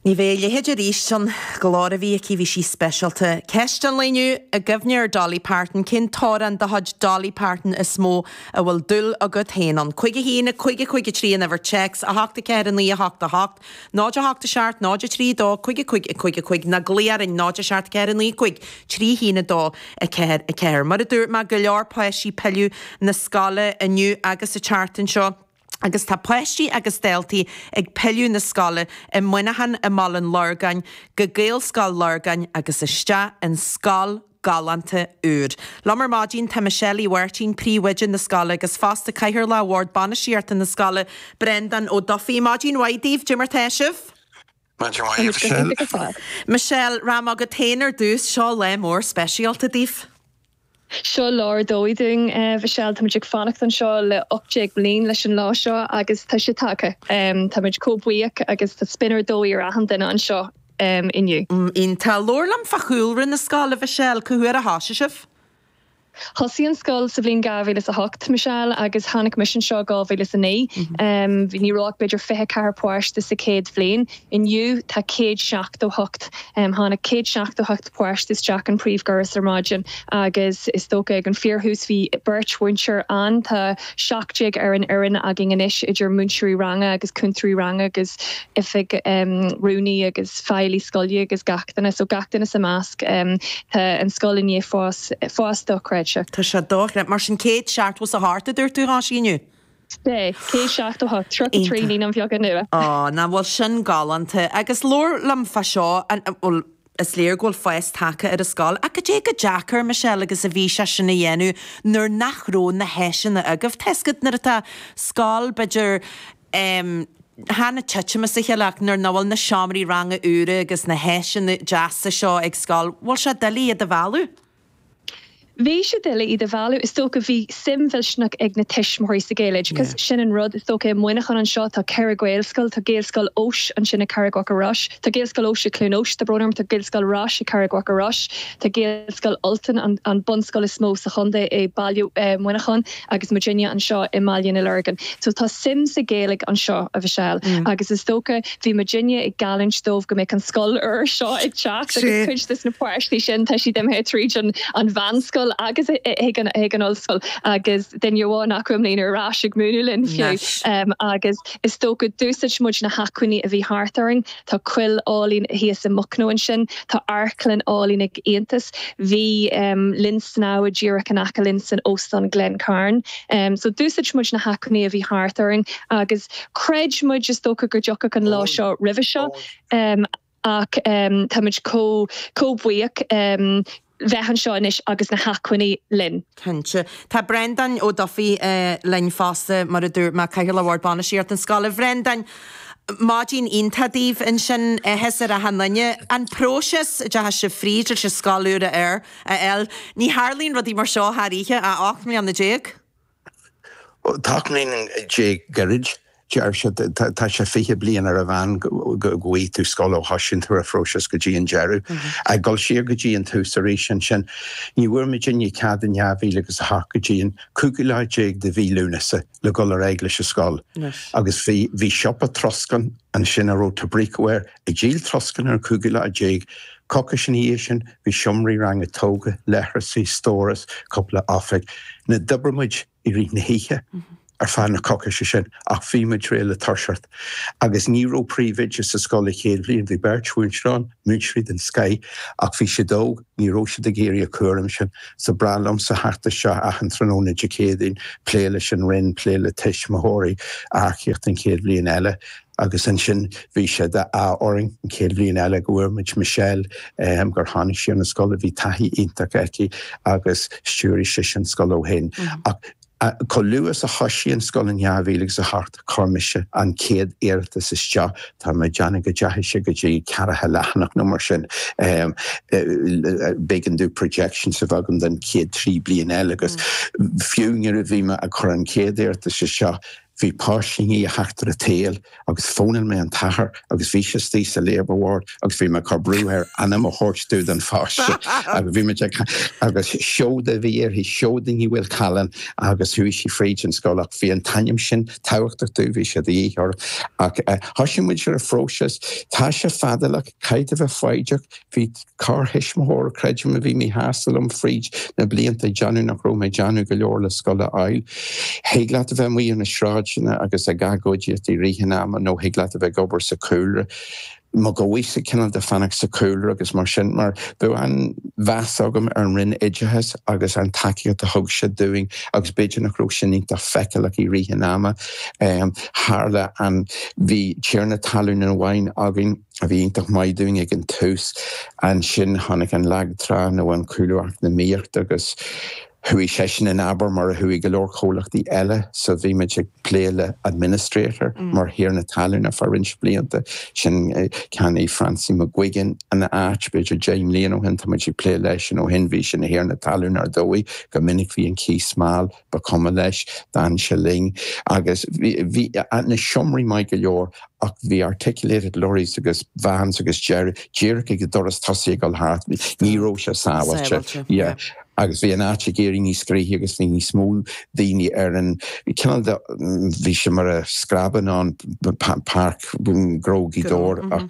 Ní bheidh a leithéid arís. An glór a bhí aici, bhí sí speisialta. Ceist an lae inniu, i gcuimhne ar Dolly Parton, cén t-amhrán de chuid Dolly Parton is mó a bhfuil dúil agat féin ann? 5 1 5 5 3 an uimhir téacs, 8 4 9 8 8 0 8 7 0 3 2 5 5 5 5 nó glaoigh orainn 0 7 4 9 5 3 1 2 4 4. Mar a dúirt mé, go leor páistí ag pilleadh na scoile inniu agus an tseachtain seo. Agus tá páistí agus daltaí ag pilleadh na scoile i Muineachán, i mBaile an Lorgáin, go Gaelscoil Lorgáin agus isteach in scoil galánta úr. Liom ar maidin tá Michelle Uí Mháirtín, príomhoide na scoile agus fosta Cathaoirleach Bhord Bainistíochta na scoile, Breandán Ó Dufaigh. Maidin mhaith daoibh, cad é mar tá sibh? Maidin mhaith, a Mhichelle. Michelle, rachaidh mé chugat féin ar dtús, seo lá mór speisialta daoibh. Seo lá ar dóigh dúinn, a Mhichelle. Táimid ag fanacht anseo le 18 mbliain leis an lá seo agus tá sé tagtha. Táimid chomh buíoch agus tá spion ar dóigh ar achan duine anseo inniu. Iontach. Labhair liom fá chúlra na scoile, a Mhichelle. Cá huair a thosaigh sibh? Thosaigh an scoil sa bhliain 2008, Michelle, agus tháinig mise anseo i 2009. Ní raibh ach b'fhéidir 24 páiste sa chéad bhliain. Inniu tá 178. Tháinig 178 páiste isteach an príomhdhoras ar maidin agus is dócha ag an fíorthús bhí beirt mhúinteoir ann. Tá 17 ar an fhoireann againn anois idir múinteoirí ranga agus cúntóirí ranga agus oifig rúnaí agus feighlí scoile agus gach duine. So gach duine sa measc. Tá an scoil i ndiaidh fás, fás dochreidte. Tá sé dochreidte. Mar sin 178 a dúirt tú a thosaigh inniu? Sea, 178, 33 naíonáin bheaga nua. Á, nach bhfuil sin galánta. Agus labhair liom fá seo, an, bhuel, is léir go bhfuil fás tagtha ar an scoil, ach cad é chomh deacair, Michelle, agus a bhí sé sin a dhéanamh nuair nach raibh na háiseanna agaibh? Tá 'fhios agat nuair atá scoil, b'fhéidir, em, chan ag titim as a chéile ach nuair nach bhfuil na seomraí ranga úra agus na háiseanna deasa seo ag scoil, bhfuil sé doiligh iad a mhealladh? Bhí sé doiligh iad a mhealladh. Is dócha bhí suim mhillteanach ag na tuismitheoirí sa Ghaeloideachas. Sin an rud. Is dócha i Muineachán anseo tá 4 Ghaelscoil. Tá Gaelscoil Eois ansin i Carraig Mhachaire Rois. Tá Gaelscoil Eois i Cluain Eois, tá brón orm, tá Gaelscoil Rois i Carraig Mhachaire Rois. Tá Gaelscoil Ultain, an bunscoil is mó sa chontae i baile Mhuineacháin. agus muidinne anseo i mBaile na Lorgan. So tá suim sa Ghaeilge anseo, a Mhichelle, agus is dócha bhí muidinne ag geallúint dóibh go mbeadh an scoil úr seo ag teacht agus cuid des na páistí sin tá siad imithe tríd an an mheánscoil agus chuig an chuig an ollscoil agus duine amháin acu i mbliana ar ais ag múineadh linn fiú. Agus is dócha d'úsáid muid na hacmhainní a bhí thart orainn. Tá coill álainn thíos i Mucno ansin, tá amharclann álainn ag Aontas, bhí linn snámha díreach in aice linn san Óstán Glencairn. So d'úsáid muid na hacmhainní a bhí thart orainn agus chreid muid is dócha go dtiocfadh an lá seo roimhe seo ach táimid chomh chomh buíoch bheith anseo anois agus na hacmhainní linn. Cinnte. Tá Breandán Ó Dufaigh linn fosta, mar a dúirt mé, Cathaoirleach Bhord Bainistíochta na scoile. A Bhreandáin, maidin iontach daoibh ansin, áthas ar achan duine. An próiseas a dteachaigh sibh fríd leis an scoil úr a fháil, ní tharlaíonn rudaí mar seo thar oíche, ach 18 mbliana. Tá 18 mbliana gairid, deir siad. Tá sé 20 bliain ar a mheán go bhfaighidh tú scoil ó thosaíonn tú ar an phróiseas go dtí an deireadh. Ag dul siar go dtí an tús arís ansin, ní bhfuair muidinne cead in 2008 go dtí an cúigiú lá déag de mhí Lúnasa le dhul ar aghaidh leis an scoil. Agus bhí bhí siopa troscán ansin a raibh Tobrico air ag díol troscán ar an cúigiú lá déag. Coicís ina dhiaidh sin bhí seomraí ranga tógtha, leithreasaí, stóras, cúpla oifig. Now d'oibrigh muid i rith na hoíche ar feadh na coicíse sin ach bhí muid réidh le toiseacht. Agus ní raibh príomhoide sa scoil an chéad bhliain, bhí beirt mhúinteoir ann, múinteoirí den scoith, ach bhí siad óg, ní raibh siad ag iarraidh an cúram sin. So ba bhreá liomsa theacht isteach achan tráthnóna Dé Céadaoin, plé leis an Roinn, plé le tuismitheoirí, earcaíocht an chéad bhliain eile. Agus ansin bhí sé d'ádh orainn an chéad bhliain eile go bhfuair muid Michelle, gur tháinig sí ar an scoil, bhí taithí iontach aici agus stiúraigh sise an scoil ó shin. Ach chomh luath is a thoisigh an scoil in 2008, chuir mise an chéad iarratas isteach, tá mé ag déanamh go dteachaigh sé go dtí ceathracha leathanach nó mar sin. B'éigean domh projections a bheith agam don chéad trí bliain eile agus fiú nuair a bhí mé ag cur an chéad iarratas isteach, Bhí páiste i ndiaidh a theacht ar an tsaol agus fónáil mé an t-athair agus bhí sé istigh sa labour ward agus bhí mé ag cur brú air ainm a thabhairt domh don pháiste agus bhí muid ag agus Seoda a bhí uirthi, Seoda Ní Mhaolchallann agus chuaigh sí fríd an scoil ach bhí an t-ainm sin tábhachtach domh, bhí sé de dhíth orm ach thosaigh muid ar an phróiseas. Tá sé fadálach, caithfidh tú a bheith foighdeach, bhí corrthuismitheoir, creidim, a bhí míshásta liom fríd na blianta ag déanamh nach raibh mé ag déanamh go leor le scoil a fháil. Thig leat a bheith amuigh ar na sráideanna agus ag agóidíocht i rith an ama nó thig leat a bheith ag obair sa chúlra. Mo dhóigh-sa cineál de fanacht sa chúlra agus mar sin, mar bheadh an-mheas agam ar an Roinn Oideachais agus an tacaíocht a thug siad dúinn agus b'fhéidir nach raibh sin iontach feiceálach i rith an ama. Tharla an, bhí tiarna talún amháin againn, a bhí iontach maith dúinn ag an tús. Ansin tháinig an lag trá nó an cúlú eacnamaíochta agus chuaigh seisean in abar mar a chuaigh go leor comhlachtaí eile so bhí muid ag plé le administrator mar thiarna talún ar feadh roinnt blianta. Sin cheannaigh Francie McGuigan an áit b'fhéidir 10 mbliana ó shin, tá muid ag plé leisean ó shin, bhí sé ina thiarna talún ar dóigh, go minic bhí an cíos mall. Ba chuma leis, d'fhan sé linn agus bhí na seomraí maith go leor ach bhí articulated lorries agus vans agus deireadh díreach ag an doras tosaigh ag dul thart, ní raibh sé sábháilte. Yeah. Agus bhí an áit ag éirí níos gnoithí agus bhí níos mó daoine ar an cineál de, bhí sé mar a screabann ann, páirc Ghnó Ghaoth Dobhair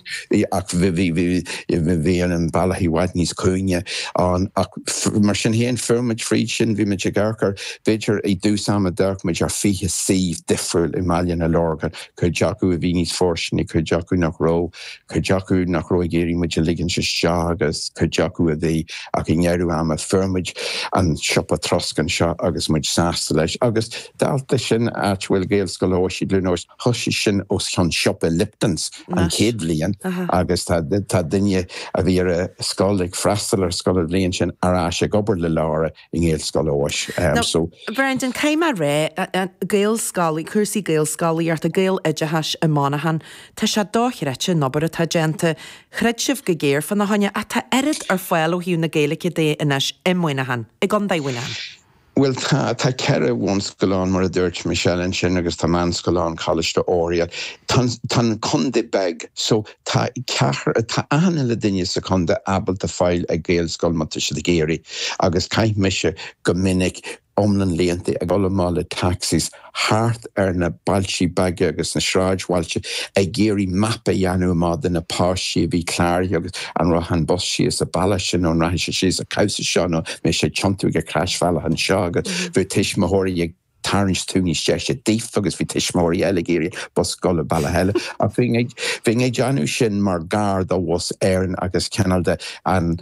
ach bhí an bealach i bhfad níos cúinge ann ach mar sin féin fuair muid fríd sin, bhí muid ag amharc ar, b'fhéidir i dtús ama d'amharc muid ar 20 suíomh difriúil i mBaile na Lorgan, cuid acu a bhí níos fóirsteanaí, cuid acu nach raibh, cuid acu nach raibh ag iarraidh muid a ligint isteach agus cuid acu a bhí ach i ndeireadh ama fuair muid an siopa trosc anseo agus muid sásta leis agus dálta sin áit a bhfuil Gaelscoil Eois i gCluain Eois, Thosaigh sin os cionn siopa Lipton's an chéad bhliain agus tá duine a bhí ar a scoil ag freastal ar scoil an bhliain sin ar ais ag obair le Laura i nGaelscoil Eois. So. Brendan, caithfidh mé a rá, Gaelscoil, cúrsaí Gaelscolaíochta, Gaeloideachais i Monaghan, tá sé dochreidte an obair atá déanta. Throid sibh go géar fána choinne ach tá oiread ar fáil ó thaobh na Gaeilge de anois i Muineachán, i gContae Mhuineacháin. Bhuel, tá, tá 4 bhunscoil ann, mar a dúirt Michelle ansin, agus tá meánscoil ann, Coláiste Oiriall. Tá, tá an contae beag, so tá ceathrar, tá achan uile duine sa chontae ábalta fáil ag Gaelscoil má tá siad ag iarraidh. Agus chaith mise go minic iomlán laethanta ag dul amach le taxis thart ar na bailtí beaga agus na sráidbhailte ag iarraidh mapa a dhéanamh amach de na páistí a bhí cláraithe agus an raibh an bus síos an bealach sin nó an rachaidh sé síos an cabhsa seo nó mbeidh sé ag tiontú ag an chrosbhealach anseo agus bhí tuismitheoirí ag tarraingt tú níos deise daofa agus bhí tuismitheoirí eile ag iarraidh bus dul an bealach eile ach bhínn ag bhínn ag déanamh sin mar gar do Bhus Éireann agus cineál de an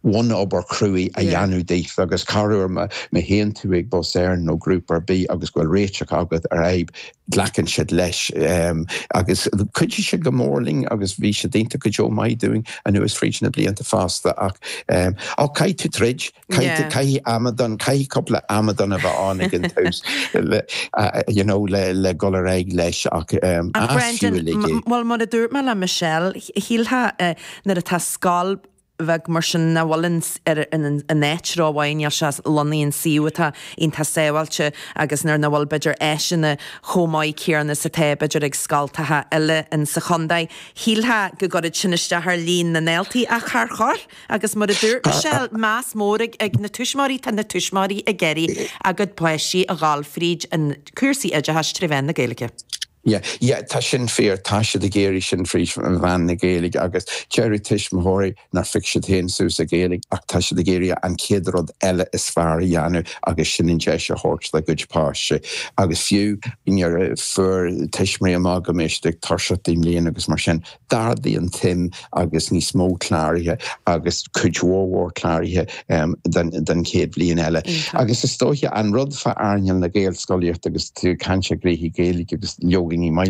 bhunobair chruaidh a dhéanamh daofa agus corruair má théann tú ag Bus Éireann nó grúpa ar bith agus go bhfuil réiteach agat ar fhadhb, glacann siad leis agus chuidigh siad go mór linn agus bhí siad iontach go deo maith dúinn anuas fríd na blianta fosta ach ó caithfidh tú troid, caithfidh caithfidh amadán, caithfidh cúpla amadán a bheith ann ag an tús le you know le le dul ar aghaidh leis ach Ach Brendan, bhuel mar a dúirt mé le Michelle, shílfeá nuair atá scoil bheag mar sin nach bhfuil ar an áit rómhaith, níl sé lonnaithe in suíomh atá iontach sábháilte agus nuair nach bhfuil b'fhéidir áiseanna chomh maith céanna is atá b'fhéidir ag scoltacha eile in sa chontae. Shílfeá go gcuirfeadh sin isteach ar líon na ndaltaí ach char chuir agus mar a dúirt Michelle, meas mór ag na tuismitheoirí, tá na tuismitheoirí ag iarraidh a gcuid páistí a dhul fríd an cúrsaí oideachais tré mheán na Gaeilge. Yeah, yeah, tá sin fíor, tá siad ag iarraidh sin fríd mheán na Gaeilge agus deireadh tuismitheoirí nár phioc siad féin suas an Ghaeilge ach tá siad ag iarraidh an chéad rud eile is fearr a dhéanamh agus sin an deis a thabhairt dá gcuid páistí. Agus fiú nuair a fuair tuismitheoirí amach go mbeidh siad ag toiseacht i mbliana agus mar sin, D'ardaigh an tsuim agus níos mó cláraithe agus cuid mhór mhór cláraithe don chéad bhliain eile. Agus is dóiche an rud fá earnáil na Gaelscolaíochta agus tú ag caint ar ghnoithí Gaeilge agus leoga ní maith.